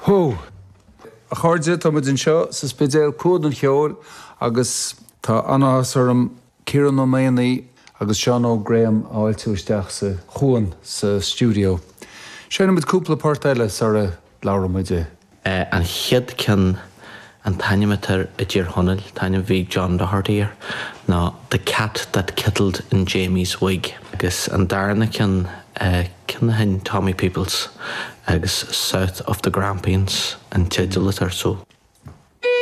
Hó! A chairde, tá muid anseo sa Spidéal, Cuan an Cheoil, agus tá an-áthas orm Ciarán Ó Maonaigh agus Seán Óg Graham a fháiltiú isteach sa Chuan sa stiúideo. Seinnfidh muid cúpla port eile sara labhróidh muid. An chéad ceann, an t-ainm atá air i dTír Chonaill, an t-ainm a bhí ag John Doherty air, ná The Cat That Kittled in Jamie's Wig. Agus an darna ceann, ceann a sheinn Tommy Peoples agus South of the Grampians an teideal atá air. So.